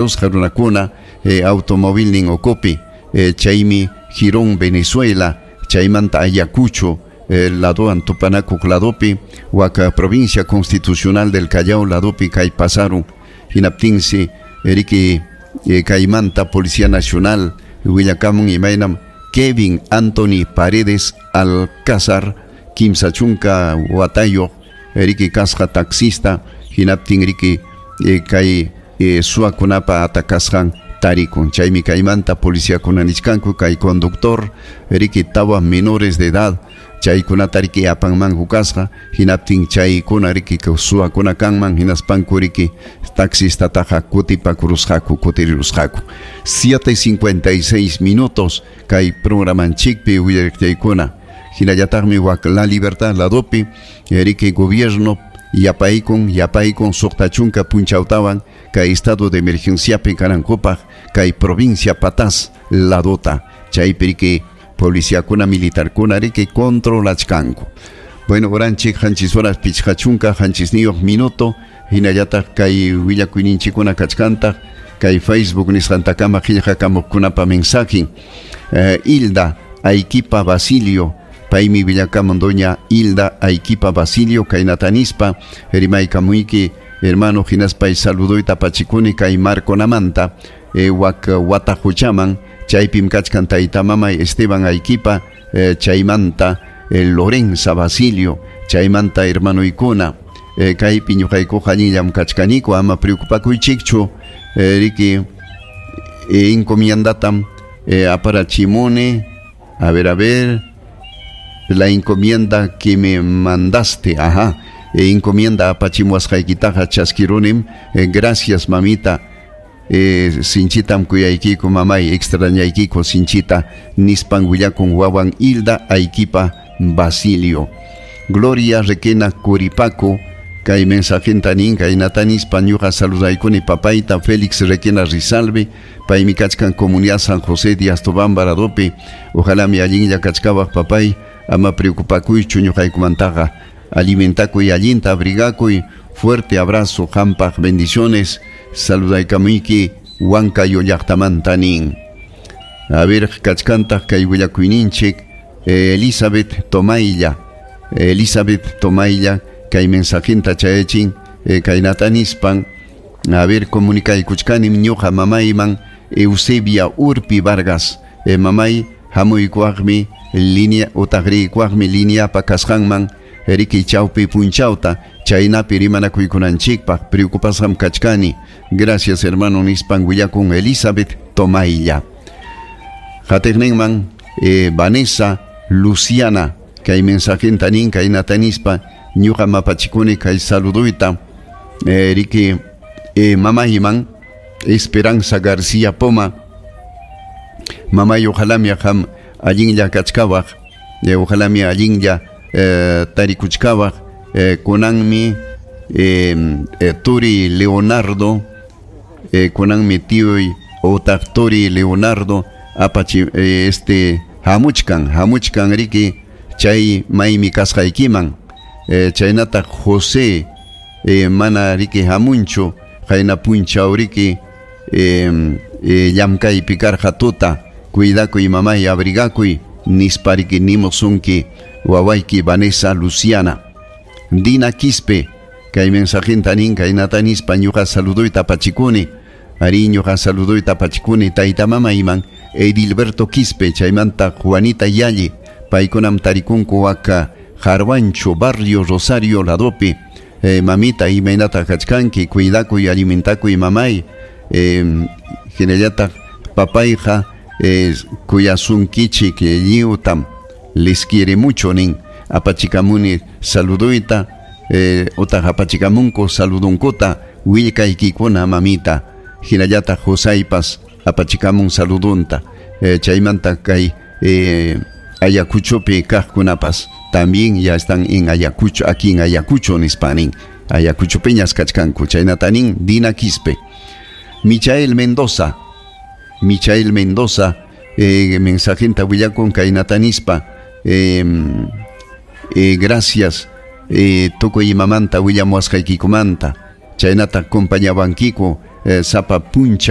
Runakuna automovilnin ukupi, chaymi Girón, Venezuela, chaymanta Ayacucho ladowan tupanakuq ladopi, waka provincia constitucional del Callao ladopi kay pasarun. Hinaptinsi riki kaymanta Policía Nacional willakamun imaynam Kevin Anthony Paredes Alcázar, 30 watayuq, riki kasqa taxista, hinaptin riki kay suwakunapa atakasqan tarikun. Chaymi kaymanta policiakuna nichkanku kay conductor riki tawa menores de edad chaykunata riki apanmanku kasqa, hinaptin chaykuna riki suwakuna kanman, hinaspanku riki taxistataqa kutipakurusqaku, kutirirusqaku. 7:56 minutos kay programanchikpi willariqchaykuna. Hinallataqmi wak La Libertad ladopi riki gobierno yapaykun 60 punchawtawan kay estado de emergenciapi kanankupaq kay provincia Pataz ladota, chaypi riki policiakuna militarkuna riki controlachkanku. Bueno, oranchik 7 horas 57 minuto, hinallataq kay willakuyninchikkuna kachkantaq kay Facebook nisqantakama qillqakamuqkunapa mensajen. Hilda Ayquipa Basilio, paymi willakamun doña Hilda Ayquipa Basilio kaynatanispa rimaykamuyki hermano, hinaspay saluduyta apachikuni kay Marconamanta, wak Watajuchaman, chaypim kachkan tayta mamay Esteban Ayquipa, chaymanta Lorenza Basilio, chaymanta hermanoykuna, kaypi ñuqaykuqa allinllam kachkaniku, ama preocupakuychikchu, riki encomiendatam aparachimuni, a ver, la encomienda que me mandaste, ajá, encomienda apachimuasqaykitaqa chaskirunim, gracias mamita, sinchitam kuyaykiku mamay, extrañaykiku sinchita, nispan willakun wawan Hilda Ayquipa Basilio. Gloria Requena Curipaco, kay mensajenta nin kaynata nispa ñuqa saludaykuni papayta Félix Requena Rizalve, paymi kachkan comunidad San José de Astobamba ladopi, ojalá mi allinlla kachkawaq papay, ama preocupakuychu ñuqaykumantaqa, alimentakuy allinta, abrigakuy, fuerte abrazo, qampaq bendiciones, saludaykamuyki Huancayo llaqtamanta nin. A ver, kachkantaq kay willakuyninchik, Elizabeth Tomaylla, Elizabeth Tomaylla, kay mensajinta chayachin, kaynata nispan, a ver, comunicaykuchkanim ñuqa mamayman Eusebia Urpi Vargas, mamay hamuykuwaqmi línea utaqriykuwaqmi lineapa kasqanman riki chawpi punchawta, chaynapi rimanakuykunanchikpaq preocupasqam kachkani, gracias hermano nispan willakun Elizabeth Tomaylla. Qatiqninman Vanessa Luciana, kay mensajinta nin kaynata nispa ñuqa mapachikuni kay saluduyta, riki mamayman Esperanza García Poma, mamay ojalá mi qam allinlla kachkawaq, ojalá mi allinlla tarikuchkawaq, kunanmi turi Leonardo, kunanmi tioy otaq turi Leonardo apachi hamuchkan riki chay maymi kasqaykiman, chaynataq José mana riki hamunchu qayna punchaw riki llamkaypi karqa tuta, cuidakuy mamay, abrigakuy nispa riki nimusunki wawayki Vanessa Luciana. Dina Quispe, kay mensajinta nin kaynata nispa ñuqa saluduyta apachikuni, ari ñuqa saluduyta apachikuni tayta mamayman Edilberto Quispe, chaymanta Juanita Yalli, paykunam tarikunku waka Jarwancho, barrio Rosario ladopi, mamita imaynata kachkanki, cuidakuy, alimentakuy mamay, hinallataq papayqa kuyasunkichik lliwtam, les quiere mucho nin, apachikamuni saluduyta, otaq apachikamunku saludunkuta willkaykikuna mamita, hinallataq Josaypas apachikamun saludunta, chaymanta kay Ayacuchopi kaqkunapas también ya están en Ayacucho, aquí en Ayacucho nispa nin, Ayacuchopiñas kachkanku, chaynata nin Dina Quispe. Michael Mendoza, Michael Mendoza, mensajinta willakun kaynata nispa, gracias, tukuy imamanta willamuwasqaykikumanta, chaynata acompañawankiku Sapa punchaw.